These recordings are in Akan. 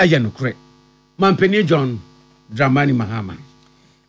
yɛ nokorɛ. Mampanin John Dramani Mahama.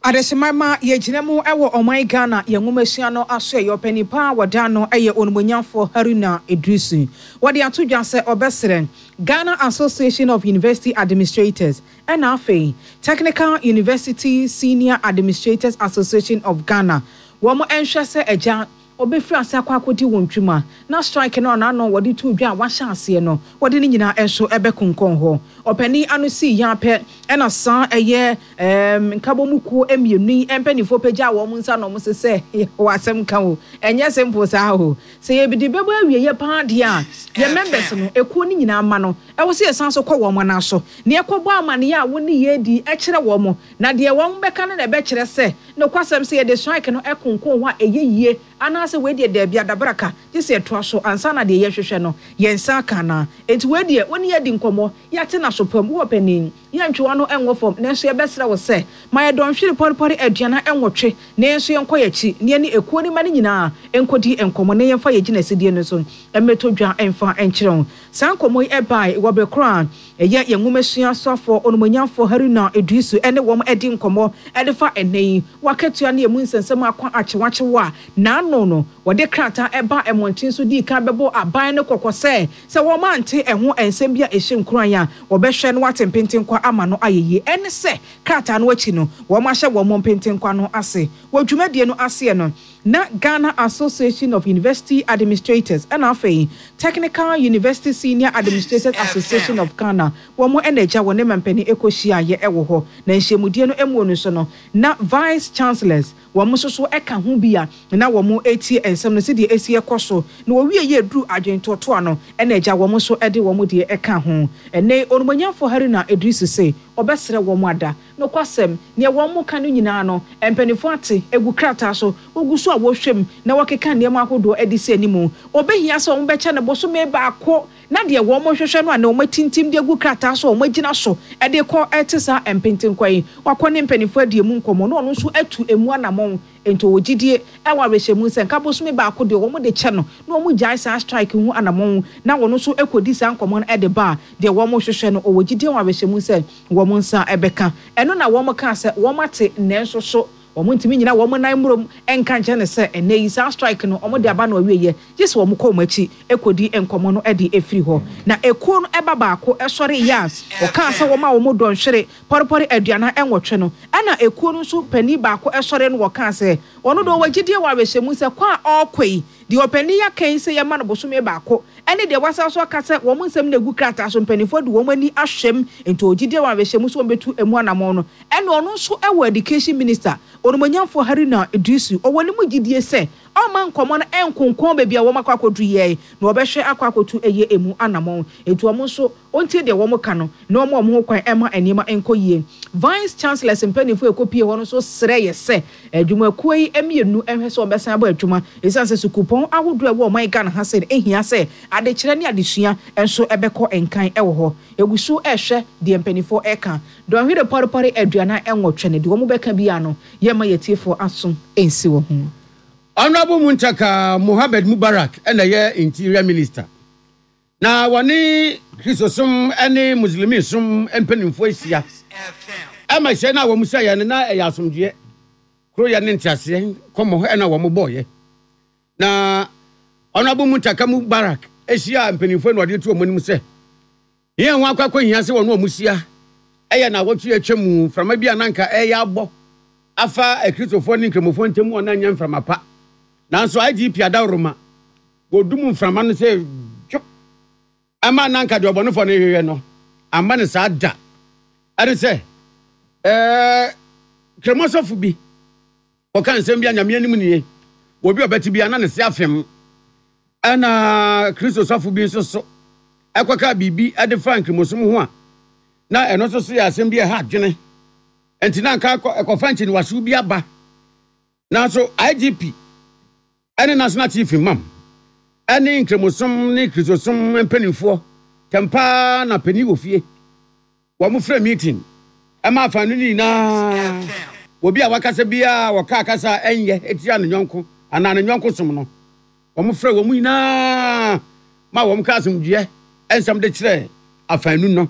Adehyeman ma yɛgyina mu wɔ ɔman Ghana yɛn nwomasua no asoɛeɛ. Ɔpanin pa a wɔda ano yɛ Onimuonyamfoɔ Haruna Iddrisu. Wɔde ato dwa sɛ ɔbɛsrɛ Ghana Association of University Administrators ɛna afei Technical University Senior Administrators Association of Ghana wɔn nhwɛ sɛ agya Wɔbɛfiri ase akɔ akɔdi wɔn dwuma, na strike no a n'ano wɔde too dwa a wɔahyɛ aseɛ no, wɔde ne nyinaa nso bɛkonkɔn hɔ. Ɔpanin ano sii yɛ ara pɛ na saa ɛyɛ ɛɛm nkabɔmu kuo mmienu yi mpanimfoɔ pagyaa wɔn nsa na wɔse sɛ yɛwɔ asɛm ka o, ɛnyɛ simple saa o. Sɛ yɛde bɛbɔ awieɛ pa ara deɛ a, yɛn members no, ekuo no nyinaa mma no, ɛwɔ sɛ yɛsan nso kɔ wɔn nan so na yɛkɔbɔ amaneɛ a wo ne yɛn redi kyerɛ wɔn. Na deɛ wɔbɛka no na ɛbɛkyerɛ sɛ nokwasɛm sɛ yɛde strike no konkon hɔ a ɛyɛ yie anaasɛ wei deɛ daabi adabraka gye sɛ yɛtoa so ansa na deɛ yɛhwehwɛ no yɛn nsa aka anaa. Enti wei deɛ wo ne yɛn adi nkɔmmɔ, yɛate no aso pam, wowɔ panin, yɛntwe w'ano nwɔ fam nanso yɛbɛsrɛ wo sɛ ma yɛn dɔnhwere pɔrepɔre 48 na yɛn nso yɛnkɔ yɛn akyi na yɛne ekuo no mma no nyinaa nkɔdi nkɔmmɔ na yɛmfa yɛn gyinasidie no nso mmɛtɔ dwa mfa nkyerɛ wo. Saa nkɔmmɔ yi bae wɔ bere koro a ɛyɛ yɛn nwomasua soafoɔ Onimuonyamfoɔ Haruna Iddrisu ne wɔn di nkɔmmɔ de fa ɛnnɛ yi w'akatua ne emu nsɛnsɛm akɔ akyewakyew a n'ano no wɔde krataa baa mmɔnten so dii kan bɛbɔɔ aban no kɔkɔ sɛ sɛ wɔante ɛho nsɛm bi a ɛhyɛ nkuran a wɔbɛhwɛ na wɔate mpentenkwa ama no ayɛ yie. Ɛne sɛ krataa no akyi no wɔahyɛ wɔn mpentenkwa no ase. Wɔ dwumadie no aseɛ no, na Ghana Association of University Administrators ɛna afei Technical University Senior Administrators Association of Ghana wɔn na agya wɔne mampanin ɛkɔ hyiaeɛ ɛwɔ hɔ. Na nhyiamudie no ɛmuo no nso no, na Vice Chancellors wɔn nso so ɛka ho bi a na wɔn ɛretie nsɛm no sɛdeɛ ɛsi ɛkɔ so. Na wɔwieɛ ɛduru adwentoɔtoa no ɛna agya wɔn nso ɛde wɔn deɛ ɛka ho. Ɛnnɛ yi Onumonyamfoɔ Haruna Iddrisu se ɔbɛsrɛ wɔn ada Nokwasɛm, nea wɔka no nyinaa no, mpanyimfo ate agu krataa so, wogu so a wɔhwɛ mu na wɔkeka nneɛma ahodoɔ de si anim. Obehia sɛ wɔbɛkyɛ no bosome baako na deɛ wɔhwehwɛ no a na wɔatintim de agu krataa so a wɔagyina so de rekɔ te saa mpentenkwa yi. Wakɔ ne mpanyimfo adi emu nkɔmmɔ na ɔno nso atu emu anammɔn. Enti ɔwɔ gyidie wɔ awerɛhyɛmu sɛ nka bosome baako deɛ wɔn de kyɛ no na wɔn gyae saa strike ho anamɔn na wɔn nso kɔdi saa nkɔmmɔ no de ba a, deɛ wɔn hwehwɛ no ɔwɔ gyidie wɔ awerɛhyɛmu sɛ wɔn nsa bɛka. Ɛno na wɔn kaa sɛ wɔn ate nanso so wɔn ntumi nyina wɔn nan mmrom nka nkyerɛ no sɛ ɛnnɛ yi saa strike no wɔn de aba no awieɛ gye sɛ wɔn kɔ wɔn akyi kɔdi nkɔmmɔ no de firi hɔ. Na ekuo no ba baako sɔreeɛ a ɔkaa sɛ wɔma wɔn dɔnhwere pɔrepɔre 48 no, ɛnna ekuo no nso panin baako sɔree no wɔkaa sɛ, Ɔno deɛ ɔwɔ gyidie wɔ awerɛhyɛmu sɛ kɔ a ɔrekɔ yi, deɛ ɔpanin yi aka yi sɛ yɛmma no bosome baako, ɛne deɛ wasan nso aka sɛ wɔn nsɛm no agu krataa so, mpanimfoɔ de wɔn ani ahwɛ mu, enti ɔwɔ gyidie wɔ awerɛhyɛmu sɛ wɔbɛtu ɛmu anammɔn no, ɛnna ɔno nso wɔ Education Minister, Onimuonyamfoɔ Haruna Iddrisu, ɔwɔ ne mu gyidie sɛ ɔmma nkɔmmɔ no nkonkɔn baabi a wɔakɔ akɔduru yi, na wɔbɛhwɛ akɔ akɔtu ɛyɛ ɛmu anammɔn, enti wɔn nso. Ɔntie deɛ wɔka no na ɔmma wɔn ho kwan mma nneɛma nkɔ yie. Vice Chancellors mpanimfoɔ a ɛkɔpuee hɔ no nso srɛeɛ sɛ adwumakuo yi mmienu nhwɛ sɛ wɔbɛsan abɔ adwuma ɛsiane sɛ sukuupɔn ahodoɔ a ɛwɔ ɔman Ghana ha sei no hia sɛ adekyerɛ ne adesua nso bɛkɔ nkan wɔ hɔ. Yɛgu so rehwɛ deɛ mpanimfoɔ reka. Dɔnhwere pɔrepɔre 48 no, deɛ wɔbɛka biara no, yɛmma yɛn atiefoɔ aso nsi wɔ ho. Honourable Muntaka Mohammed Mubarak na ɛyɛ Interior Minister. Na wɔne Kristosom ne Muslimisom mpanimfoɔ ahyia. Ɛma hyia no a wɔhyiaeɛ no, na ɛyɛ asomdwoeɛ, koroyɛ ne nteaseɛ nkɔmmɔ na wɔbɔeɛ. Na Honourable Muntaka Mubarak hyiaa mpanimfoɔ na ɔde to wɔn anim sɛ, Yɛn ho akɔ akɔhia sɛ wɔne wɔn hyia yɛ nnawɔtwe a atwa mu mframa bi a na anka ɛreyɛ abɔ afa Akristofoɔ ne Nkramofoɔ ntam a na ɛnyɛ mframa pa. Nanso IGP Adaworoma Wɔdum mframa no sɛ dwo. Ɛma na anka deɛ ɔbɔnefoɔ no rehwehwɛ no amma no saa da. Ɛne sɛ, ɛɛ, Kramoasɔfo bi kɔka nsɛm bi a Nyame anim nie, obi a ɔbɛte biara na ne se afem. Ɛna Kristo sɔfo bi nso so ɛkɔka biribi de fa nkramosom ho a na ɛno nso so yɛ asɛm bi a ɛha adwene. Enti na anka ɛkɔfa nkyiniwahyew bi aba. Nanso IGP ne National Chief Imam ne Nkramosom ne Kristosom mpanimfoɔ tɛm paa na panin wɔ fie. Wɔn frɛ meeting ma afaanu no nyinaa. Obi a wakasa biara a ɔkaa kasa a ɛnyɛ tia ne yɔnko anaa ne yɔnko som no, wɔn frɛ wɔn nyinaa ma wɔn ka asomdwoeɛ nsɛm de kyerɛ afaanu no.